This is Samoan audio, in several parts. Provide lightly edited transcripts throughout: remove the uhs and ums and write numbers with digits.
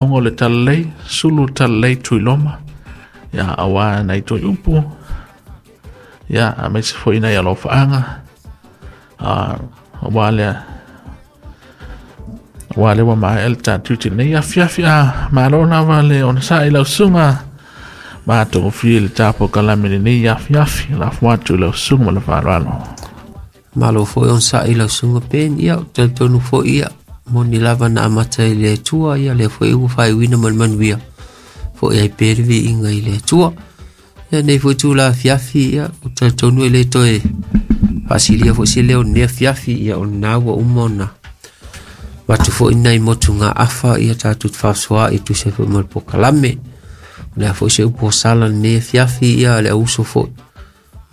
O le talalei sulu talalei Tuiloma ia aua nai toi upu ia a me se foi nai alofaaga a aua lea aua lea ua maea le tatou i lenei afiafi. A malo lava le onosai i lau susuga, matagofie le tapolokalamme i lenei afiafi. Lafo atu i lau susuga ma le faaaloalo. Malo foi onosai i lau susuga Ben. Ia, ou te talitonu foi, ia, moni lava na amata i le Atua, ia lea foi ua faaiuina ma le manuia foi ai pea le viiga i le Atua. Ia nei foi tula afiafi, ia, ou te talitonu e le toe faasilia foi se leo lenei afiafi, ia o lena ua uma ona avatu foi nai motugaafa, ia tatou te faasoa'i e tusa ai foi ma le polokalame. O le a foi se upu o sala lenei afiafi, ia le auuso foi,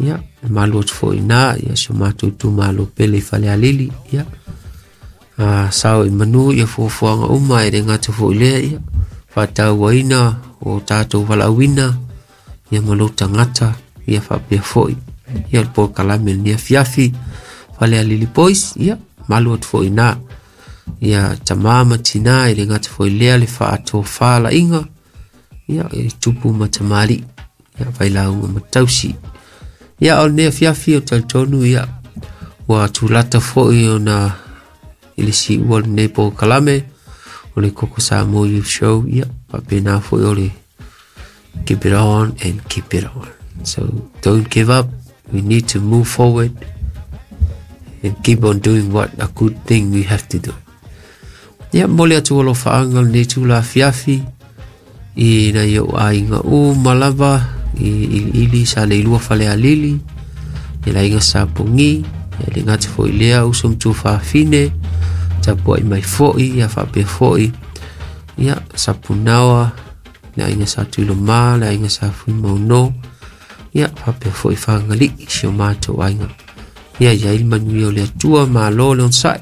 ia e malu atu foi iina, ia si o matou itumalo pele i Falealili, ia a sao i manu ia fuafuaga uma e le gata foi lea, ia faatauaina o tatou valaauina ia ma lou tagata, ia faapea foi ia le polokalame lenei afiafi Falealili Boys. Ia malu atu foi iina ia tamā ma tinā, e le gata foi lea le faatofalaiga ia e tupu ma tamalii, ia failauga ma tausi. Ia o lenei afiafi o talitonu, ia ua tulata foi ona i le siua lenei polokalame o le Koko Samoa Youth Show. Ia faapena foi o le keep it on and keep it on. So don't give up. We need to move forward and keep on doing what a good thing we have to do. Ia momoli atu alofaaga lenei tula afiafi i nai ou aiga uma lava i Iliili sa Leilua Falealili, i le aiga sa Pogi, ia le gata foi lea uso ma tuafafine tapuai mai foi, ia faapea foi ia Sapunaoa, le aiga sa Tuiloma, le aiga sa Fuimauno, ia faapea foi Fagalii, si o matou aiga. Ia i ai le manuia o le Atua. Malo le onosai,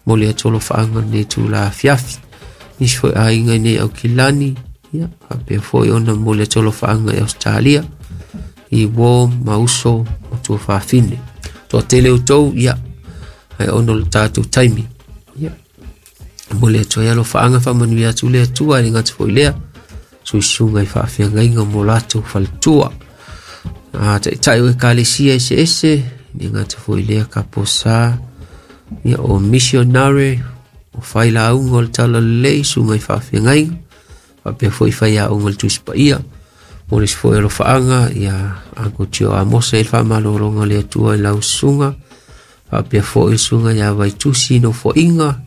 momoli atu alofaaga lenei tula afiafi. Nisi foi aiga i nei Aukilani, ia faapea foi ona momoli atu alofaaga i Australia i uo ma uso ma tuafafine. Toatele outou, ia ae ona o le tatou taimi, ia momoli atu ai alofaaga, faamanuia atu le Atua. E le gata foi lea suisuga i faafeagaiga mo latou faletua, a taitai o ekalesia eseese, le gata foi lea kaposa, ia o missionary, o failauga o le talalelei, suga i faafeagaiga, faapea foi faiaoga o le Tusi Paia. Mo le isi foi alofaaga ia Uncle Tio Amosa i le faamalologa o le Atua i lau susuga, faapea foi le susuga ia Vaitusi Nofoaiga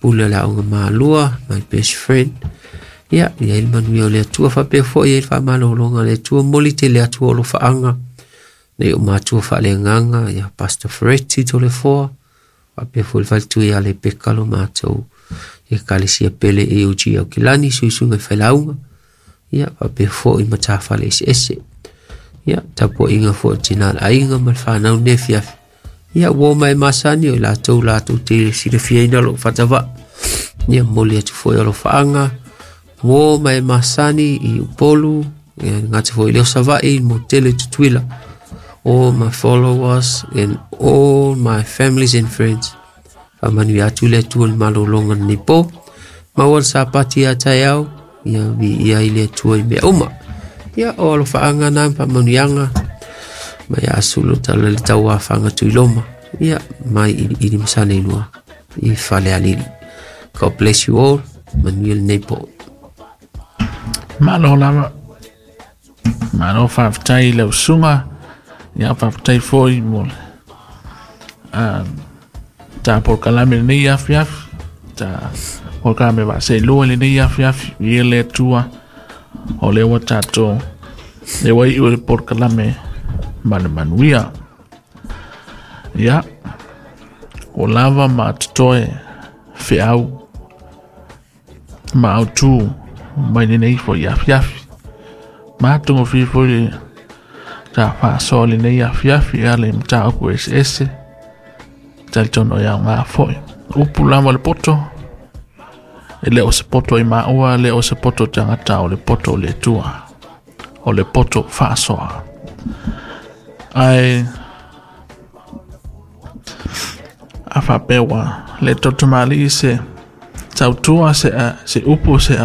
Pule o le Aoga Malua, my best friend. Ia i ai le manuia o le Atua, faapea foi i ai le faamalologa o le Atua. Momoli tele atu o alofaaga nei o matua faaleagaga ia Pastor Fereti Tolefoa, faapea foi le faletua ia Lepeka, lo matou ekalesia pele AOG Aukilani, suisuga i failauga, ia faapea foi matafale eseese. Ia tapuaiga foi o tina le aiga ma le fanau nei afiafi. Ia ua mai masani o i latou latou te silafiaina lou faatavaa. Ia momoli atu foi alofaaga uo ma e masani i Upolu, ia gata foi i leo Savaii mo tele Tutuila. All my followers and all my families and friends, faamanuia atu le Atua i le malologa lenei po. Maua le Sapati ia taeao, ia viia i le Atua i mea uma. Ia o alofaaga na faamanuiaga mai asulu tala le tauafaga Tuiloma, ia mai Iliili ma Saleilua i Falealili. God bless you all. Manuia lenei po. Malo lava, malo, faafetai i lau susuga. Ia faafetai foi mo le ta polokalame lenei afiafi, ta polokalame vaaseilua lenei afiafi. Ia le Atua o lea ua tatou lea ua iu le polokalame ma le manuia. Ia ua lava ma totoe feau ma autū mai lenei foi afiafi. Matagofie foi le ta faasoa lenei afiafi e ala i mataupu eseese, talitonu e aoga foi. Upu lava le poto, e le o se poto i maua, le o se poto tagata, o le poto o le Atua, o le poto faasoa. Ae a faapea ua le tautamālii se Tautua se a se upu se a.